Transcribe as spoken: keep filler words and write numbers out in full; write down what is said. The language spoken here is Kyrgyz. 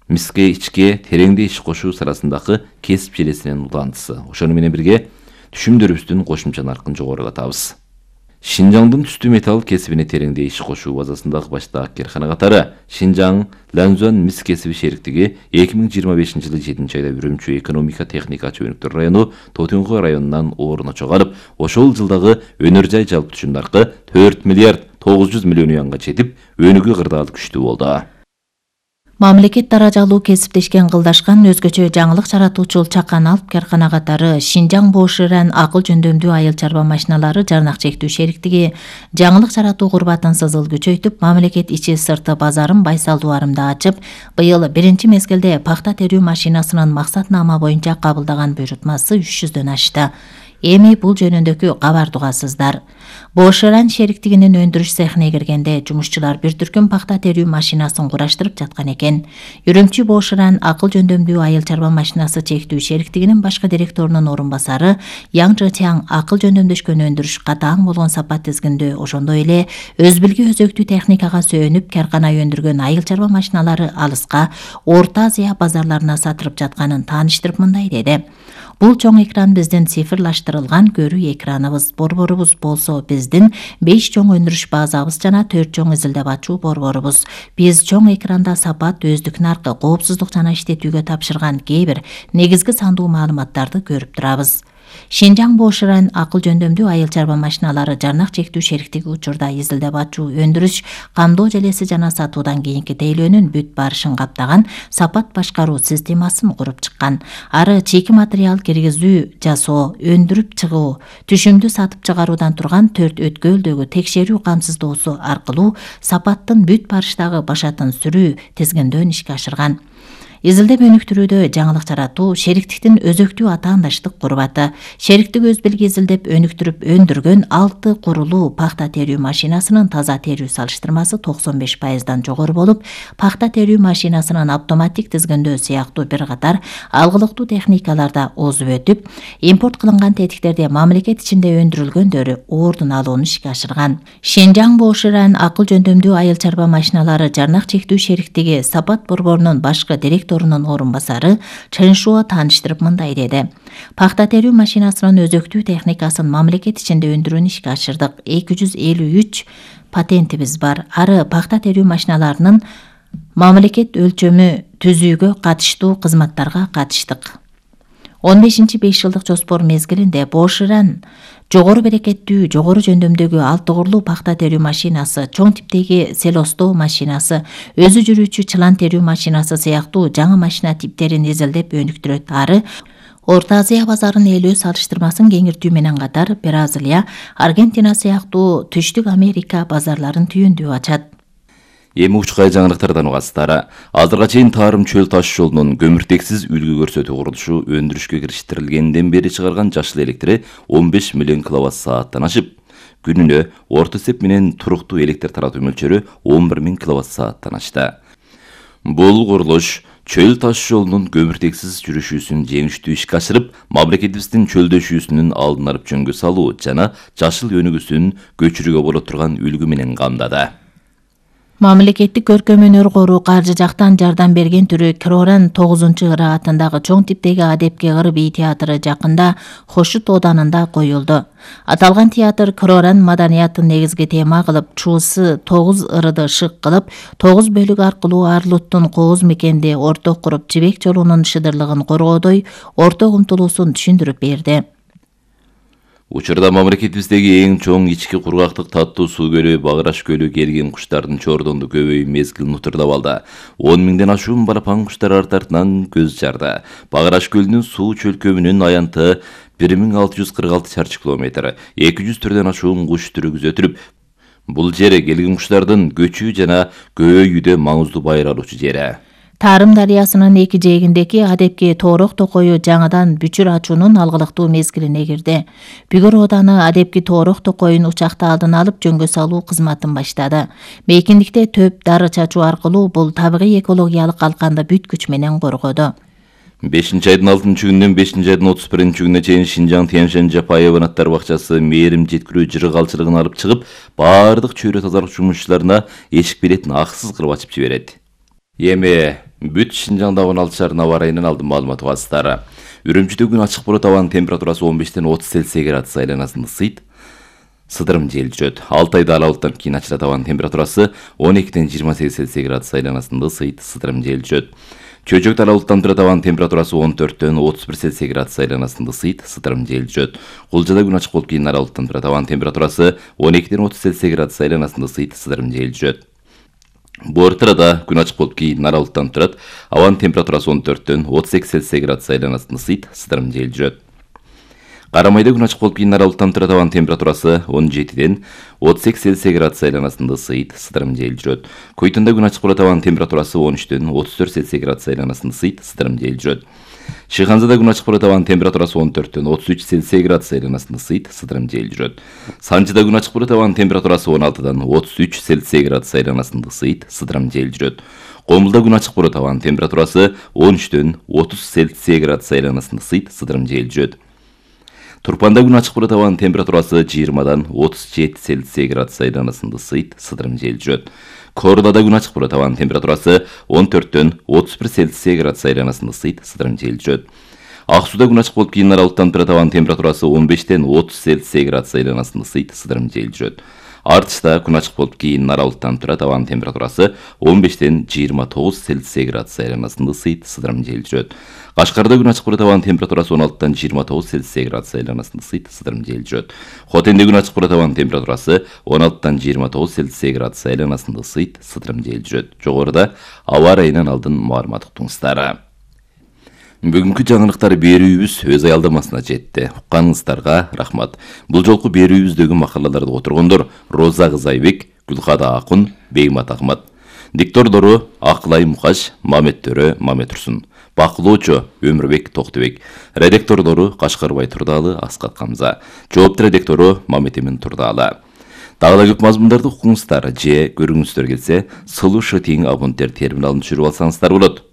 миске ичке тереңде иш кошуу сырасындагы кесип желесинин уландысы. Ошону менен бирге түшүмдөрүбүздүн кошумча наркын жогорулатабыз. Шинжаңдын түстүү металл кесибине тереңде иш кошуу базасындагы баштаак керкана катары Шинжаң Ланзуан мис кесиби шериктиги эки миң жыйырма бешинчи жылы жетинчи айда Үрүмчү экономика техника чөйрөктөр району Тотуңго районунан ордуна чыгарып, ошол жылдагы өнөр жай жалпы түшүм наркы төрт миллиард тогуз жүз миллион юанга жетип, өнүгүү кырдаал күчтүү болду. Мамлекет даражалуу кесиптешкен кылдашкан өзгөчө жаңылык жаратуучул чакан алып керкана катары Шинжаң Боширан акыл жөндөмдүү айыл чарба машиналары жарнак чектүү шериктиги жаңылык жаратуу курбатын сызыл күчөйтүп, мамлекет ичи сырты базарын байсалдуу арымда ачып, быйыл биринчи мезгилде пахта терүү машинасынын максатнама боюнча кабылдаган буйрутмасы үч жүздөн ашты. Эми бул жөнүндөгү кабар тугасыздар. Боширан шериктигинин өндүрүш цехине киргенде жумушчулар бир түркүм пахта терүү машинасын кураштырып жаткан экен. Үрүмчү Боширан акыл жөндөмдүү айыл чарба машинасы чектүү шериктигинин башкы директорунун орун басары Яң Чжытяң акыл жөндөмдөшкөн өндүрүш катаң болгон сапат тизгиндөө, ошондой эле өз билги өзөктүү техникага сөөнүп каркана өндүргөн айыл чарба машиналары алыска Орто Азия базарларына сатылып жатканын тааныштырып мындай деди. Бул чоң экран биздин цифрлаштырылган көрүү экраныбыз. Борборубуз болсо биздин беш чоң өндүрүш базабыз жана төрт чоң изилдеп ачуу борборубуз. Биз чоң экранда сапат, өздүк наркы, коопсуздук жана иштетүүгө тапшырган кээ бир негизги сандуу маалыматтарды көрүп турабыз. Шинжаң Боширан акыл жөндөмдүү айыл чарба машиналары жарнак чектүү шериктиги учурда изилдеп ачуу, өндүрүш, камдоо желеси жана сатуудан кийинки тейлөөнүн бүт барышын каптаган сапат башкаруу системасын куруп чыккан. Ары чийки материал киргизүү, жасоо, өндүрүп чыгуу, түшүмдү сатып чыгаруудан турган төрт өткөлдөгү текшерүү камсыздоосу аркылуу сапаттын бүт барыштагы башатын сүрүү тизгиндөн ишке ашырган. Изилдеп өнүктүрүүдө жаңылык жаратуу шериктиктин өзөктүү атаандаштык курбаты. Шериктик өз билги изилдеп өнүктүрүп өндүргөн алты курулуу пахта терүү машинасынын таза терүү салыштырмасы токсон беш пайыздан жогору болуп, пахта терүү машинасынын автоматтик тизгиндөө сыяктуу бир катар алгылыктуу техникаларда озуп өтүп, импорт кылынган тетиктерде мамлекет ичинде өндүрүлгөндөрү ордун алууну ишке ашырган. Шинжаң Боширан акыл жөндөмдүү айыл чарба машиналары жарнак чектүү шериктиги сапат борборунун башкы директору торунун орун басары Чен Шуо тааныштырып мындай деди. Пахта терүү машинасынын өзөктүү техникасын мамлекет ичинде өндүрүүнү ишке ашырдык. эки жүз элүү үч патентибиз бар. Ары пахта терүү машиналарынын мамлекет өлчөмү түзүүгө катыштуу кызматтарга катыштык. он бешинчи беш жылдык жоспор мезгилинде Боширан жогору берекеттүү, жогору жөндөмдөгү алты курлуу пахта терүү машинасы, чоң типтеги селостоо машинасы, өзү жүрүүчү чылан терүү машинасы сыяктуу жаңы машина типтерин изилдеп өнүктүрөт. Ары Орто Азия базарын ээлөө салыштырмасын кеңиртүү менен катар Бразилия, Аргентина сыяктуу Түштүк Америка базарларын түйүндүү ачат. Эми учкай жаңылыктардан угасыздар. Азырга чейин Тарым чөл таш жолунун көмүртексиз үлгү көрсөтүү курулушу өндүрүшкө кириштирилгенден бери чыгарган жашыл электри он беш миллион киловатт сааттан ашып, күнүнө орто эсеп менен туруктуу электр таратуу мөлчөрү он бир миң киловатт сааттан ашты. Бул курулуш чөл таш жолунун көмүртексиз жүрүшүүсүн жеңиштүү ишке ашырып, мамлекетибиздин чөлдөшүүсүнүн алдын алып жөнгө салуу жана жашыл өнүгүүсүн көчүрүүгө боло турган үлгү менен камдады. Мамлекеттик көркөм өнөр кору каржы жактан жардам берген түрү Кироран тогузунчу ыры атындагы чоң типтеги адепке ыр бий театры жакында Хошут оданында коюлду. Аталган театр Кироран маданиятын негизги тема кылып, чуусы тогуз ырды шык кылып, тогуз бөлүк аркылуу Арлуттун кооз мекенди орток куруп, Жибек жолунун шыдырлыгын коргоодой орток умтулуусун түшүндүрүп берди. Учурда мамлекетибиздеги эң чоң ички кургактык таттуу суу көлү Багыраш көлү келген куштардын чордонду көбөйүү мезгилин утурдап алды. он миңден ашуун балапан куштар арты артынан көз жарды. Багыраш көлүнүн суу чөлкөмүнүн аянты бир миң алты жүз кырк алты чарчы километр, эки жүз түрдөн ашуун куш түрү күзөтүлүп, бул жер келген куштардын көчүү жана көбөйүүдө маңыздуу байыр алуучу жери. Тарым дарыясынын эки жээгиндеги адепки тоорок токою жаңыдан бүчүр ачуунун алгылыктуу мезгилине кирди. Бүгүр ооданы адепки тоорок токоюн учакта алдын алып жөнгө салуу кызматын баштады. Мейкиндикте төп дары чачуу аркылуу бул табигый экологиялык калканды бүт күч менен коргоду. бешинчи айдын алтынчы күнүнөн бешинчи айдын отуз биринчи күнүнө чейин Шинжаң Тяньшань Жапаева аттар бакчасы мээрим жеткирүү жыры калчылыгын алып чыгып, баардык чөйрө тазалык жумушчуларына эшик билетин акысыз кырып ачып жиберет. Эми Бүт Шинжаңда он алты шаарынын аба ырайынан алдын маалымат угасыздары. Үрүмчүдө күн ачык болот, абанын температурасы он бештен отуз Цельсий градус айланасында ысыйт. Сыдырым жел жүрөт. алты айда ала булуттан кийин ачылат, абанын температурасы он экиден жыйырма сегиз Цельсий градус айланасында ысыйт. Сыдырым жел жүрөт. Чөйжөктө ала булуттан турат, абанын температурасы он төрттөн отуз бир Цельсий градус айланасында ысыйт. Сыдырым жел жүрөт. Кулжада күн ачык болуп кийин ала булуттан турат, абанын температурасы он экиден отуз Цельсий градус айланасында ысыйт. Сыдырым жел жүрөт. Буортырада күн ачык болуп кийин ара булуттан турат, абанын температурасы он төрттөн отуз эки Цельсий градус айланасында ысыйт. Сыдырым жел жүрөт. Карамайда күн ачык болуп кийин ара булуттан турат, абанын температурасы он жетиден отуз эки Цельсий градус айланасында ысыйт. Сыдырым жел жүрөт. Койтунда күн ачык болот, абанын температурасы он үчтөн отуз төрт Цельсий градус айланасында ысыйт. Сыдырым жел жүрөт. Шыханзада күн ачык болот, абанын температурасы он төрттөн отуз үч Цельсий градус айланасында ысыйт. Сыдырым жел жүрөт. Санжыда күн ачык болот, абанын температурасы он алтыдан отуз үч Цельсий градус айланасында ысыйт. Сыдырым жел жүрөт. Комулда күн ачык болот, абанын температурасы он үчтөн отуз Цельсий градус айланасында ысыйт. Сыдырым жел жүрөт. Турпанда күн ачык болот, абанын температурасы жыйырмадан отуз жети Цельсий градус айланасында ысыйт. Сыдырым жел жүрөт. Кордада күн ачык болот, абанын температурасы он төрттөн отуз бир Цельсий градус айланасында ысыйт. Сыдырым жел жүрөт. Ак сууда күн ачык болуп кийин ара булуттан турат, абанын температурасы он бештен отуз Цельсий градус айланасында ысыйт. Сыдырым жел жүрөт. Артышта күн ачык болуп кийин ара булуттан турат, абанын температурасы он бештен жыйырма тогуз Цельсий градус айланасында ысыйт. Сыдырым жел жүрөт. Кашкарда күн ачык болот, абанын температурасы он алтыдан жыйырма тогуз Цельсий градус айланасында ысыйт. Сыдырым жел жүрөт. Хотенде күн ачык болот, абанын температурасы он алтыдан жыйырма тогуз Цельсий градус айланасында ысыйт. Сыдырым жел жүрөт. Жогоруда аба ырайынан алдын маалымат уктуңуздар. Бүгүнкү жаңылыктар берүүбүз өз аялдамасына жетти. Укканыңыздарга рахмат. Бул жолку берүүбүздөгү макалаларды отургондор Роза Кызайбек, Гүлкада Акун, Беймат Ахмат. Диктордору Акылай Мукаш, Мамет Төрө, Мамет Турсун. Бакылоочу Өмүрбек Токтобек. Редактордору Кашкарбай Турдалы, Аскат Камза. Жоопту редактору Мамет Эмин Турдалы. Дагы да көп мазмундарды укуңуздар же көрүңүздөр келсе, Слушать абоненттер терминалын түшүрүп алсаңыздар болот.